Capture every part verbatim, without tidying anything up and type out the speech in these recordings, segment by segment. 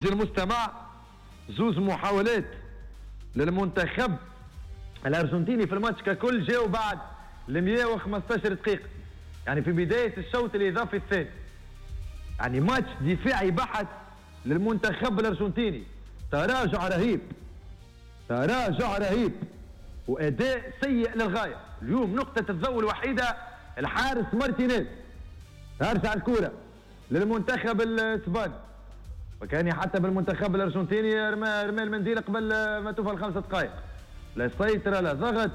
المستمع زوز محاولات للمنتخب الارجنتيني في الماتش ككل جاوا بعد ال مية وخمسطاش دقيقة، يعني في بداية الشوط الاضافي الثاني. يعني ماتش دفاعي بحت للمنتخب الارجنتيني، تراجع رهيب، تراجع رهيب واداء سيء للغاية. اليوم نقطة الضوء الوحيدة الحارس مارتينيز. ترجع الكره للمنتخب الاسباني، وكان حتى بالمنتخب الارجنتيني رمى رمى المنديل قبل ما توفى الخمس دقائق. لا سيطرة لا ضغط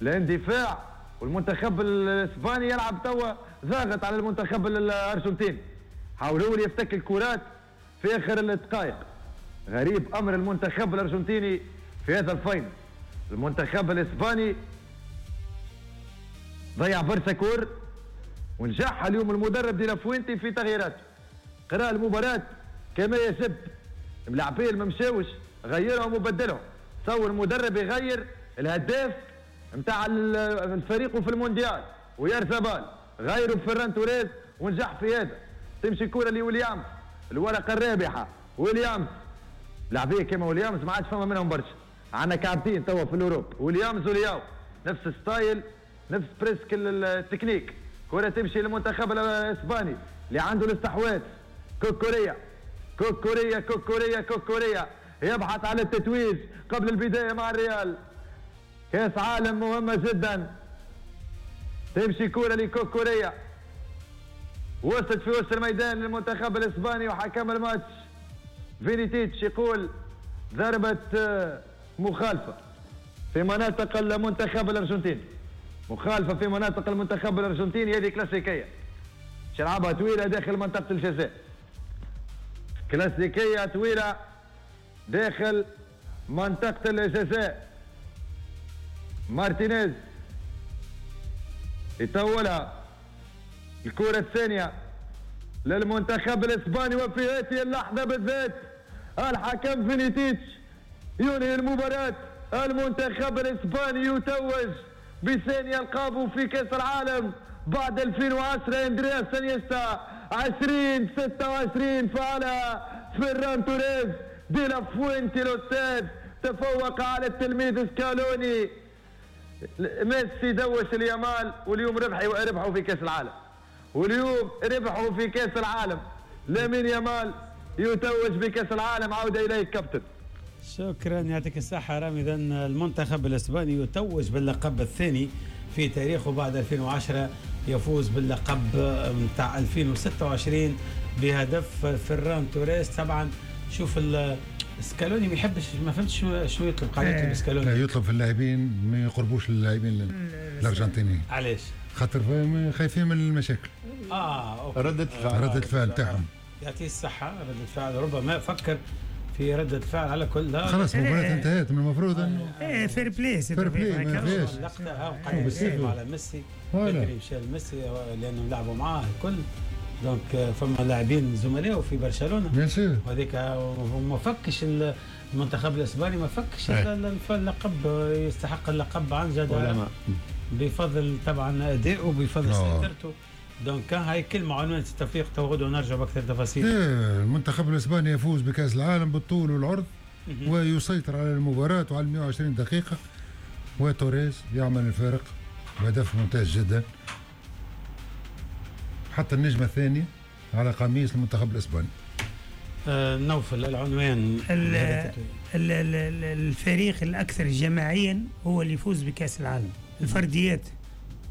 لا اندفاع، والمنتخب الاسباني يلعب توا ضاغط على المنتخب الارجنتيني. حاول هو يفتك الكرات في اخر الدقائق. غريب امر المنتخب الارجنتيني في هذا ال finale. المنتخب الاسباني ضيع برشا كور، ونجح اليوم المدرب دي لافوينتي في تغييراته. قرأ المباراة كما يجب، الملاعبين ما مشاوش غيرهم وبدلهم. تصور المدرب يغير الهداف نتاع الفريق في المونديال ويرزبال، غيروا بفران توريز ونجح في هذا. تمشي كرة لويليامز، الورقة الرابحة ويليامز. لاعبيه كما ويليامز ما عادش فما منهم برشا، عندنا كعبتين توا في l'Europe، ويليامز ولياو، نفس style نفس presque ال technique. كرة تمشي للمنتخب الاسباني اللي عنده الاستحواذ. كوكوريا كوكوريا كوكوريا كوكوريا يبحث على التتويج قبل البداية مع الريال. كاس عالم مهمة جدا. تمشي كرة لكوكوريا، وصلت في وسط الميدان للمنتخب الاسباني وحكم الماتش فينيتيتش يقول ضربة مخالفة في مناطق المنتخب الارجنتيني. مخالفة في مناطق المنتخب الارجنتيني، هذه كلاسيكية، شلعبها طويلة داخل منطقة الجزاء. كلاسيكية طويلة داخل منطقة الجزاء. مارتينيز يطولها. الكرة الثانية للمنتخب الاسباني، وفي هذه اللحظة بالذات الحكم فينيتيتش ينهي المباراة. المنتخب الاسباني يتوج بثاني القابه في كأس العالم بعد ألفين وعشرة. اندرياس انيستا عشرين ستة وعشرين فعلها فيران توريز. دي لافوينتي الاستاذ تفوق على التلميذ سكالوني. ميسي دوش اليمال، واليوم ربحوا ربحوا في كأس العالم، واليوم ربحوا في كأس العالم. لامين يامال يتوج بكأس العالم. عودة إليك كابتن. شكرا، يعطيك الصحة رامي. إذا المنتخب الإسباني يتوج باللقب الثاني في تاريخه بعد ألفين وعشرة، يفوز باللقب نتاع ألفين وستة وعشرين بهدف فيران توريس. طبعا شوف سكالوني ما يحبش، ما فهمتش شنو يطلب، قاعد يطلب سكالوني. لا يطلب في اللاعبين ما يقربوش اللاعبين الارجنتينيين. علاش؟ خاطر خايفين من المشاكل. اه okay. ردة الفعل، ردة الفعل تاعهم. يعطيه الصحة، ردة الفعل ربما فكر في ردة الفعل على كل. لا خلاص المباراة انتهت، من المفروض انه ايه fair play، fair play ما فيهاش اللقطة. ها قاعد يتكلم على ميسي، بدري مشى لميسي لانه لعبوا معاه الكل، donc فما لاعبين زملائه في برشلونة bien sûr، وهذيك ما فكش المنتخب الاسباني، ما فكش اللقب، يستحق اللقب عن جدارة بفضل طبعا ادائه، بفضل سيطرته. donc هاي كلمة عنوان التوفيق، تو غدوه نرجع باكثر تفاصيل. إيه المنتخب الاسباني يفوز بكاس العالم بالطول والعرض ويسيطر على المباراة وعلى مئة وعشرين دقيقة، وتوريز يعمل الفارق بهدف ممتاز جدا، حتى النجمة الثانية على قميص المنتخب الاسباني. آه نوفل العنوان. ال ال ال الفريق الاكثر جماعيا هو اللي يفوز بكاس العالم. الفرديات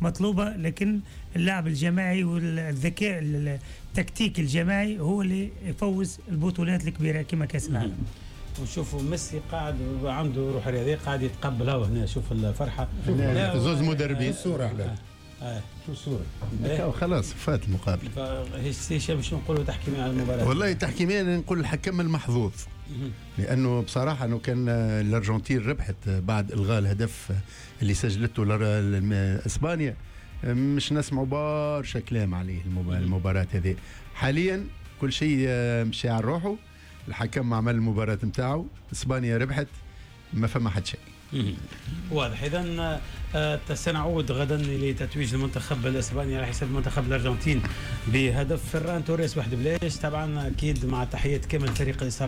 مطلوبة، لكن اللعب الجماعي والذكاء التكتيك الجماعي هو اللي يفوز البطولات الكبيرة كما كأس العالم. ونشوفوا ميسي قاعد عنده روح رياضية، قاعد يتقبل هنا. شوف الفرحة، زوز مدربين. الصورة أحلى. آه. شو الصورة؟ خلاص فات المقابلة. هشام شنو نقولوا تحكيميا على المباراة؟ والله تحكيميا نقول الحكم المحظوظ، لأنه بصراحة أنه كان الأرجنتين ربحت بعد إلغاء الهدف اللي سجلته إسبانيا، مش نسمعوا برشا كلام عليه المباراة هذه. حاليا كل شيء مشى على روحه، الحكم عمل المباراة نتاعو، إسبانيا ربحت، ما فما حد شيء. واضح. اذا آه، سنعود غدا لتتويج المنتخب الاسباني على حساب منتخب الارجنتين بهدف فران توريس واحد بلاش. طبعا اكيد مع تحية كامل فريق.